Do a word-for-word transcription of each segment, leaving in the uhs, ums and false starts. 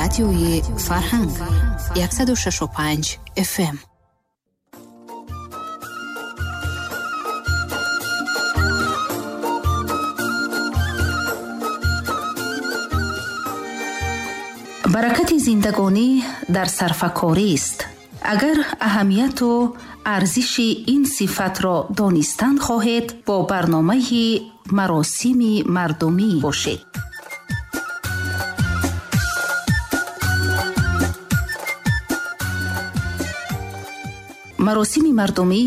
Радиои Фарҳанг яксаду шашу панҷ эф эм. Баракати зиндагонӣ дар сарфакорист. Агар аҳамияту арзиши ин сифатро донистан хоҳед, бо барномаи маросими мардумӣ бошед. Маросими мардумӣ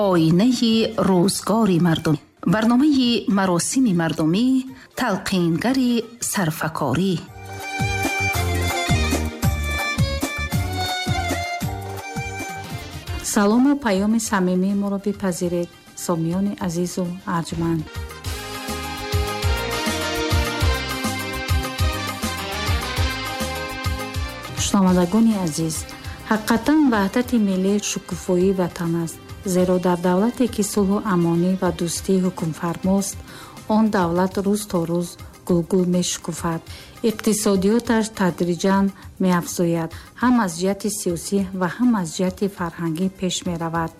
оинаи рӯзгори мардум. Барномаи маросими мардумӣ талқингари сарфакорӣ. Салому паёми самимии моро бипазиред, сомиёни азизу арҷманд. Шунавандагони азиз, ҳақиқатан ваҳдати миллӣ шукуфоии ватан аст, зеро дар давлате ки сулҳу амонӣ ва дӯстӣ ҳукмфармост, он давлат рӯз то рӯз гулгул мешукуфад. Иқтисодиёташ тадриҷан меафзояд, ҳам аз ҷиҳати сиёсӣ ва ҳам аз ҷиҳати фарҳангӣ пеш меравад.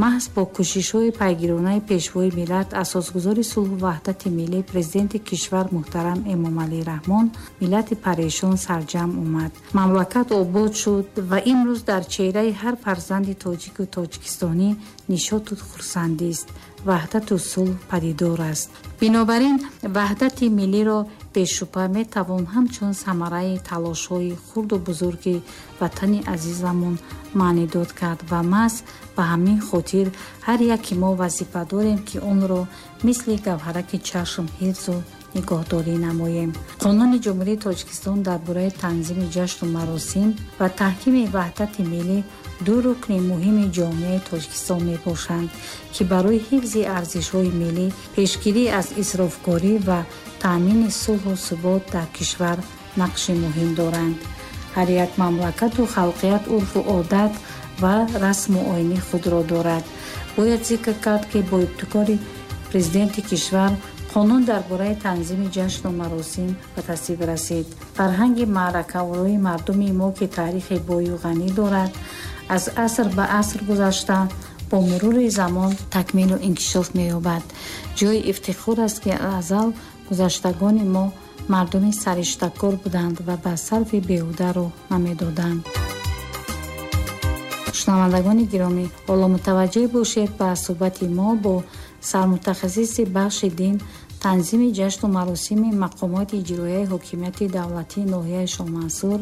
Маҳз бо кӯшишҳои пайгиронаи пешвои миллат, асосгузори сулҳу ваҳдати миллӣ, президенти кишвар муҳтарам Эмомалӣ Раҳмон, миллати парешон сарҷамъ омад. Мамлакат обод шуд ва имрӯз дар чеҳраи ҳар фарзанди тоҷику тоҷикистонӣ нишоту хурсандист, ваҳдату сулҳ падидор аст. Бинобар ин ваҳдати миллиро бешубҳа метавон ҳамчун самараи талошҳои хурду бузурги ватани азизамон маънидод кард ва маҳз ба ҳамин хотир ҳар яки мо вазифа дорем, ки онро мисли гавҳараки чашм ҳифзу нигоҳдорӣ намоем. Қонуни Ҷумҳурии Тоҷикистон дар бораи танзими ҷашну маросим ва таҳкими ваҳдати миллӣ ду рукни муҳими ҷомеаи Тоҷикистон мебошанд, ки барои ҳифзи арзишҳои миллӣ, пешгирӣ аз исрофкорӣ ва таъмини сулҳу субот дар кишвар нақши муҳим доранд. Ҳар як мамлакату халқият урфу одат ва расму оини худро дорад. Бояд зикр кард, ки бо ибтикори президенти кишвар қонун дар бораи танзими ҷашну маросим ба тасвиб расид. Фарҳанги маъракаорои мардуми мо, ки таърихи бою ғанӣ дорад, аз аср ба аср гузашта бо мурури замон такмилу инкишоф меёбад. Ҷои ифтихор аст, ки азал гузаштагони мо мардуми сариштакор буданд ва ба сарфи беҳуда роҳ намедоданд. Шунавандагони гиромӣ, ҳоло мутаваҷҷеҳ бошед ба суҳбати мо бо сармутахассиси бахши дин, танзими ҷашну маросими мақомоти иҷроияи ҳокимияти давлатии ноҳияи Шоҳмансур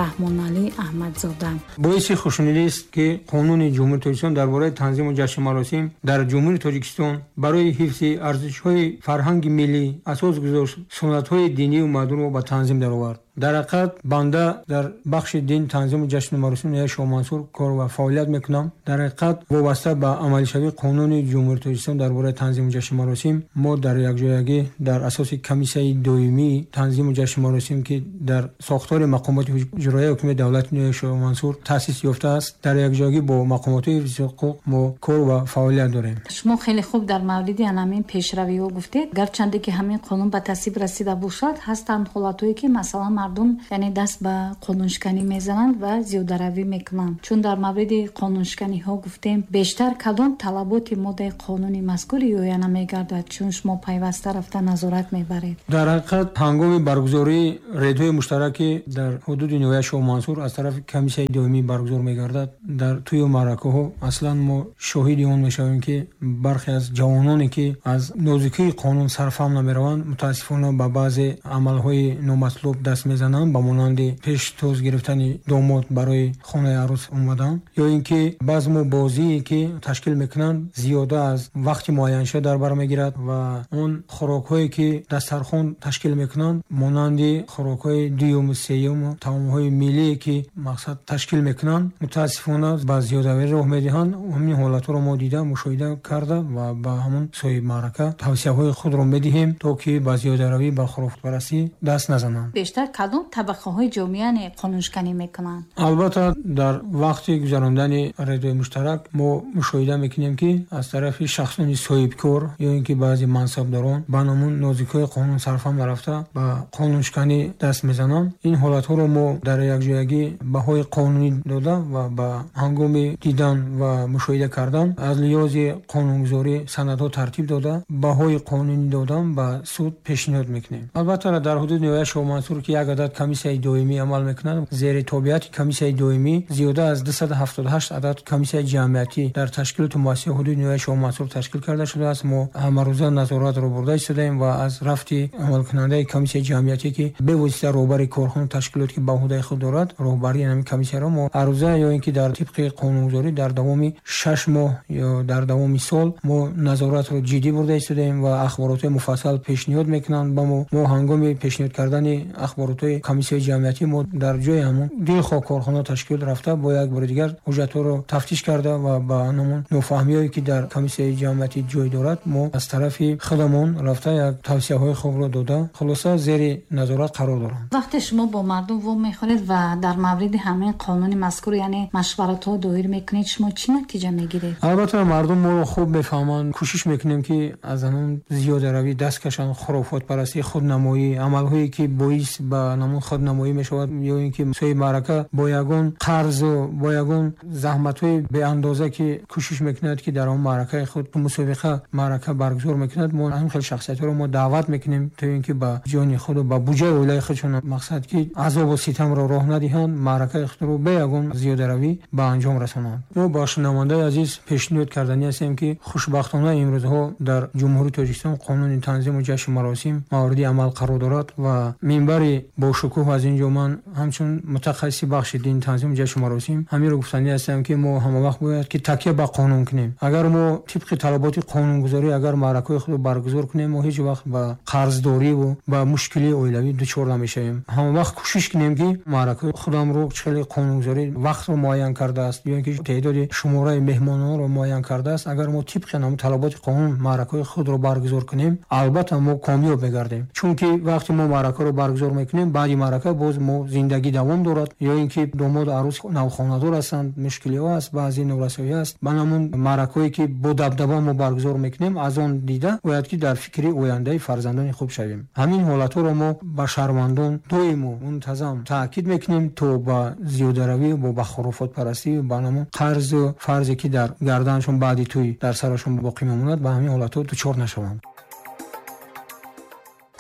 Раҳмоналӣ Аҳмадзода. Боиси хушнудист, ки қонуни Ҷумҳурии Тоҷикистон дар бораи танзиму ҷашну маросим дар Ҷумҳурии Тоҷикистон барои ҳифзи арзишҳои фарҳанги миллӣ асос гузошт, суннатҳои динию мардумро ба танзим даровард. Дар ҳақиқат банда дар бахши дин, танзиму ҷашну маросим ноҳияи Шоҳмансур кор ва фаъолият мекунам. Дар ҳақиқат вобаста ба амалишавии қонуни Ҷумҳурии Тоҷикистон дар бораи танзиму ҷашну маросим мо дар якҷоягӣ дар асоси комиссияи доимии танзиму ҷашну маросим, ки дар сохтори мақомоти иҷроияи ҳокимияти давлати ноҳияи Шоҳмансур таъсис ёфтааст, дар якҷоягӣ бо мақомоти ҳифзи ҳуқуқ мо кор ва фаъолият дорем. Шумо хеле хуб дар мавриди ҳамин пешравиҳо гуфтед. Гарчанде ки ҳамин қонун ба тасвиб расида бошад, ҳастанд ҳолатҳое, ки масалан мардум яъне даст ба қонуншиканӣ мезананд ва зиёдаравӣ мекунанд. Чун дар мавриди қонуншиканиҳо гуфтем, бештар кадом талаботи моддаи қонуни мазкур риоя намегардад, чун шумо пайваста рафта назорат мебаред? Дар ҳақиқат ҳангоми баргузории рейдҳои муштараки дар ҳудуди ноҳияи Шоҳмансур аз тарафи комиссияи доимӣ баргузор мегардад, дар тӯю маъракаҳо аслан мо шоҳиди он мешавем, ки бархе аз ҷавононе, ки аз нозукии қонун сарфаҳм намераванд, мутаассифона ба баъзе амалҳои номатлуб даст мезананд, ба монанди пештоз гирифтани домод барои хонаи арӯс омадан, ё ин ки базму бозие, ки ташкил мекунанд, зиёда аз вақти муайяншуда дар бар мегирад ва он хӯрокҳое, ки дастархон ташкил мекунанд, монанди хӯрокҳои дуюму сеюму таомҳои миллие, ки мақсад ташкил мекунанд, мутаассифона ба зиёдавӣ роҳ медиҳанд. Ҳамин ҳолатҳоро мо дида, мушоҳида карда ва ба ҳамон соҳиби маърака тавсияҳои худро медиҳем, то ки ба зиёдаравӣ, ба хурофотпарастӣ даст назананд. Бештар кадом табақаҳои ҷомеа қонуншиканӣ мекунанд? Албатта, дар вақти гузарондани рейдҳои муштарак мо мушоҳида мекунем, ки аз тарафи шахсони соҳибкор ё ин ки баъзе мансабдорон ба намун нозикҳои қонун сарфам нарафта ба қонуншиканӣ даст мезананд. Ин ҳолатҳоро мо дар якҷоягӣ баҳои қонунӣ дода ва ба ҳангоми дидан ва мушоҳида кардан аз лиҳози қонунгузорӣ санадҳо тартиб дода, баҳои қонунӣ додан ба суд пешниҳод мекунем. Албатта, дар ҳудуди ноҳияи Шоҳмансур, ки як адад комиссияи доимӣ амал мекунад, зери тобеияти комиссияи доимӣ зиёда аз дусаду ҳафтоду ҳашт адад комиссияи ҷамъиятӣ дар ташкилоту муассисаи ҳудуди ноҳияи Шоҳмансур ташкил карда шудааст. Мо ҳамарӯза назоратро бурда истодаем ва аз рафти амалкунандаи комиссияи ҷамъиятӣ, ки бевосита роҳбари корхонаи ташкилот, ки ба уҳдаи худ дорад роҳбарии ҳамин комиссияро, мо ҳаррӯза ё ин ки дар тибқи қонунгузорӣ дар давоми шаш моҳ ё дар давоми сол мо назоратро ҷиддӣ бурда истодаем ва ахборотҳои муфассал пешниҳод мекунанд ба мо. Мо ҳангоми пешниҳод кардани ахборотҳои комиссияи ҷамъиятӣ мо дар ҷои ҳамон дилхоҳ корхона ташкил рафта бо як бори дигар ҳуҷҷатҳоро тафтиш карда ва ба ҳамон нофаҳмиҳое, ки дар комиссияи ҷамъиятӣ ҷой дорад, мо аз тарафи худамон рафта як тавсияҳои хубро дода, хулоса зери назорат қарор доранд. Вақте шумо бо мардум вомехӯред ва дар мавриди ҳамин қонуни мазкур, яъне машваратҳо доир мекунед, шумо чӣ натиҷа мегиред? Албатта, мардум моро хуб мефаҳманд. Кӯшиш мекунем, ки аз ҳамон зиёдаравӣ даст кашанд, хурофотпарастӣ, худнамоӣ, амалҳое ки боис ба ҳамон худнамоӣ мешавад ё ин ки соҳиби маърака бо ягон қарзу бо ягон заҳматҳои беандоза, ки кӯшиш мекунад, ки дар он маъракаи худ мусобиқа маърака баргузор мекунад. Мо ҳамин хел шахсиятҳоро мо даъват мекунем, то ин ки ба ҷони худу ба буҷаи оилаи худшон мақсад ки азобу ситамро роҳ надиҳанд, маъракаи худро бе ягон зиёдаравӣ ба анҷом расонанд. Мо ба шунавандаи азиз пешниҳод карданӣ ҳастем, ки хушбахтона имрӯзҳо дар Ҷумҳурии Тоҷикистон қонуни танзиму ҷашну маросим мавриди амал қарор дорад ва минбари бошукӯҳ аз ин ҷо ман ҳамчун мутахассиси бахши дин танзиму ҷашну маросим ҳаминро гуфтанӣ ҳастам, ки мо ҳамавақт бояд ки такя ба қонун кунем. Агар мо тибқи талаботи қонунгузорӣ агар маъракаҳои худро баргузор кунем, мо ҳеҷ вақт ба қарздориву ба мушкилии оилавӣ дучор намешавем. Ҳамавақт кӯшиш кунем, ки маъракаҳои худамро хеле қонунгузорӣ вақтро муайян кардааст ё ин ки теъдоди шумораи меҳмононро муайян кардааст. Агар мо тибқи ҳамон талаботи қонун маъракаҳои худро баргузор кунем, албатта мо комёб мегардем. Чунки вақте мо маъракаро баргузор мекунем, баъди маърака боз мо зиндагӣ давом дорад, ё ин ки домоду арӯс навхонадор ҳастанд, мушкилиҳо аст, баъзе норасоӣ аст. Ба ҳамон маъракаҳое ки бо дабдаба мо баргузор мекунем, аз он дида бояд ки дар фикри ояндаи фарзандони хуб шавем. Ҳамин ҳолатҳоро мо ба шаҳрвандон доиму мунтазам таъкид мекунем, то ба зиёдаравӣ бо ба хурофотпарастӣ ба ҳамон қарзу фарзе ки дар гарданашон баъди тӯй дар сарашон боқӣ мемонад, ба ҳамин ҳолатҳо дучор нашаванд.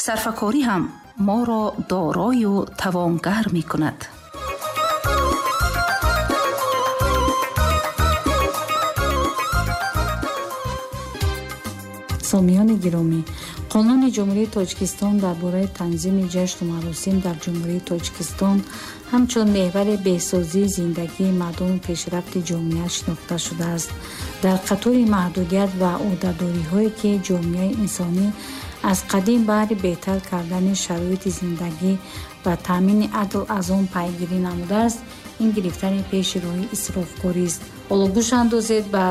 Сарфакорӣ ҳам моро дорою тавонгар мекунад. Сомиёни гиромӣ, Қонуни Ҷумҳурии Тоҷикистон дар бораи танзими ҷашну маросим дар Ҷумҳурии Тоҷикистон ҳамчун меҳвари беҳсозии зиндагии мардуму пешрафти ҷомеа шинохта шудааст. Дар қатори маҳдудият ва ӯҳдадориҳое, ки ҷомеаи инсонӣ аз қадим баҳри беҳтар кардани шароити зиндагӣ ва таъмини адл аз он пайгирӣ намудааст, ин гирифтани пеши роҳи исрофкорист. Ҳоло гӯш андозед ба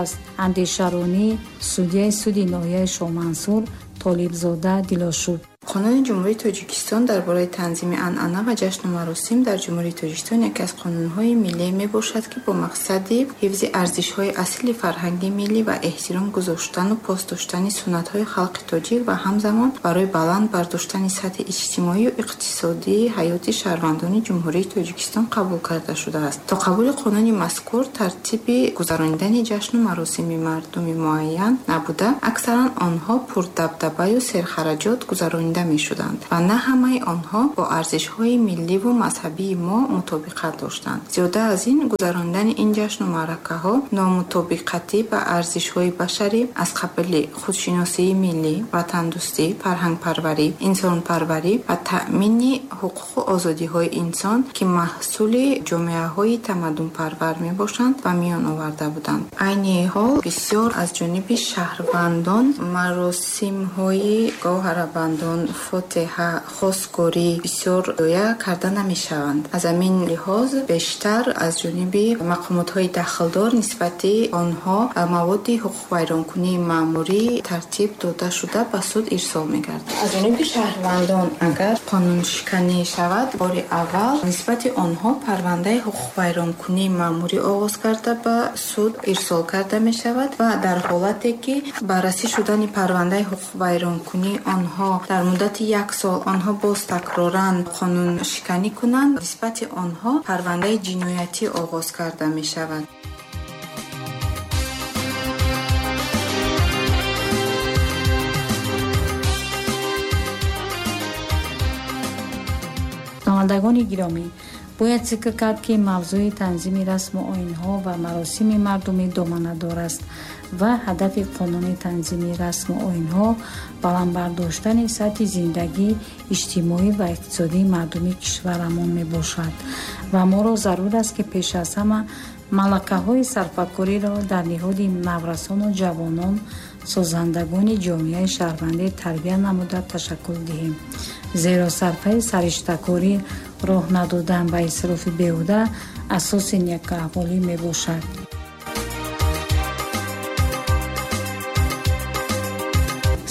андешаронии судяи суди ноҳияи Шоҳмансур Толибзода Дилошуб. Қонуни Ҷумҳурии Тоҷикистон дар бораи танзими анъана ва ҷашну маросим дар Ҷумҳурии Тоҷикистон яке аз қонунҳои миллӣ мебошад, ки бо мақсади ҳифзи арзишҳои аслии фарҳанги миллӣ ва эҳтиром гузоштану пос доштани суннатҳои халқи тоҷик ва ҳамзамон барои баланд бардоштани сатҳи иҷтимоию иқтисодии ҳаёти шаҳрвандони Ҷумҳурии Тоҷикистон қабул карда шудааст. То қабули қонуни мазкур тартиби гузаронидани ҷашну маросими мардуми муайян набуда, аксаран онҳо пурдабдабаю серхараҷот гузаронида мешуданд ва на ҳамаи онҳо бо арзишҳои милливу мазҳабии мо мутобиқат доштанд. Зиёда аз ин, гузаронидани ин ҷашну маъракаҳо номутобиқатӣ ба арзишҳои башарӣ аз қабили худшиносии миллӣ, ватандӯстӣ, фарҳангпарварӣ, инсонпарварӣ ва таъмини ҳуқуқу озодиҳои инсон, ки маҳсули ҷомеаҳои тамаддунпарвар мебошанд, ба миён оварда буданд. Айни ҳол бисёр аз ҷониби шаҳрвандон маросимҳои гоҳарабандон, фотиҳа, хостгорӣ бисёр риоя карда намешаванд. Аз ҳамин лиҳоз бештар аз ҷониби мақомотҳои дахлдор нисбати онҳо маводи ҳуқуқвайронкунии маъмурӣ тартиб дода шуда ба суд ирсол мегардад. Аз ҷониби шаҳрвандон агар қонуншиканӣ шавад, бори аввал нисбати онҳо парвандаи ҳуқуқвайронкунии маъмурӣ оғоз карда ба суд ирсол карда мешавад ва дар ҳолате ки баррасӣ шудани парвандаи ҳуқуқвайронкунии онҳо дар муддати як сол онҳо боз такроран қонуншиканӣ кунанд, нисбати онҳо парвандаи ҷиноятӣ оғоз карда мешавад. Шунавандагони гиромӣ, бояд зикр кард, ки мавзӯи танзими расму оинҳо ва маросими мардумӣ доманадор аст ва ҳадафи қонуни танзими расму оинҳо баланд бардоштани сатҳи зиндагӣ, иҷтимоӣ ва иқтисодии мардуми кишварамон мебошад ва моро зарур аст, ки пеш аз ҳама малакаҳои сарфакориро дар ниҳоди наврасону ҷавонон, созандагони ҷомеаи шаҳрвандӣ тарбия намуда ташаккул диҳем. Зеро сарфаи сариштакорӣ, роҳ надодан ба исрофи беҳуда асоси некаҳволӣ мебошад.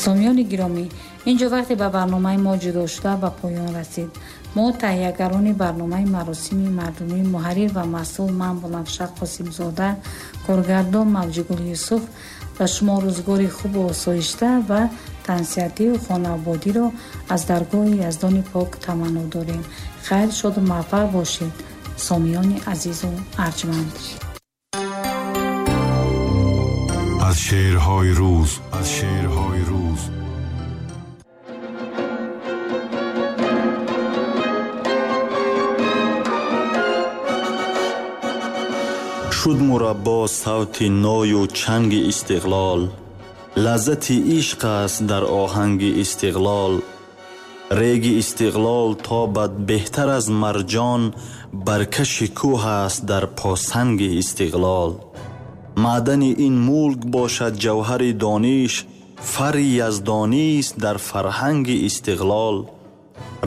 Сомиёни гиромӣ, инҷо вақте ба барномаи мо ҷудо шуда ба поён расид. Мо таҳиягарони барномаи маросими мардумӣ, муҳаррир ва масъул ман Бунафша Қосимзода, коргардон Мавҷигул Юсуф ба шумо рӯзгори хубу осоишта ва тансиҳатию хонаободиро аз даргоҳи Яздони пок таманно дорем. Хайр, шоду муваффақ бошед, сомиёни азизу арҷманд. Аз шеърҳои рӯз, аз шеърҳои рӯз. Шуд мураббо савти ною чанги истиқлол, лаззати ишқ аст дар оҳанги истиқлол. Реги истиқлол тобад беҳтар аз марҷон, баркаши кӯҳ аст дар посанги истиқлол. Маъдани ин мулк бошад ҷавҳари дониш, фарри яздонист дар фарҳанги истиқлол.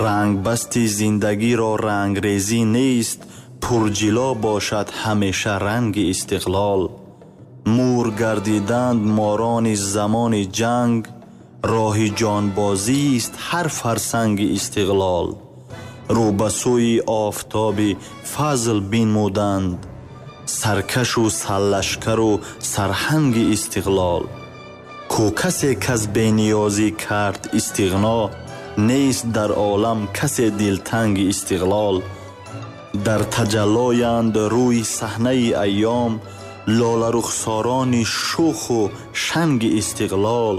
Рангбасти зиндагиро рангрезӣ нест, пурҷило бошад ҳамеша ранги истиқлол. Мур гардиданд морони замони ҷанг, роҳи ҷонбозист ҳар фарсанги истиқлол. Рӯ ба сӯи офтоби фазл бинмуданд, саркашу сарлашкару сарҳанги истиқлол. Ку касе кас бениёзӣ кард истиғно, нест дар олам касе дилтанги истиқлол. Дар таҷаллоянд рӯи саҳнаи айём, лоларухсорони шӯху шанги истиқлол.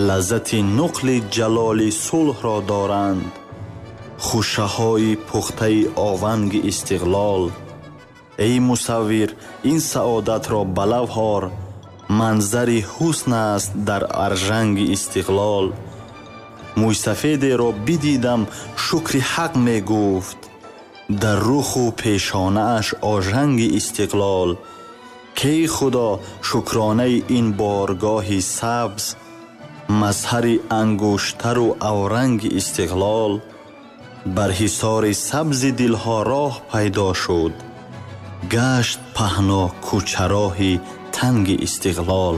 Лаззати нуқли ҷалоли сулҳро доранд, хушаҳои пухтаи ованги истиқлол. Эй мусаввир, ин саодатро ба лавҳ ор, манзари ҳусн аст дар аржанги истиқлол. Мӯйсафедеро бидидам шукри ҳақ мегуфт, дар руху пешонааш ожанги истиқлол. Кей худо шукронаи ин боргоҳи сабз, мазҳари ангуштару авранги истиқлол. Бар ҳисори сабзи дилҳо роҳ пайдо шуд, гашт паҳно кӯчароҳи танги истиқлол.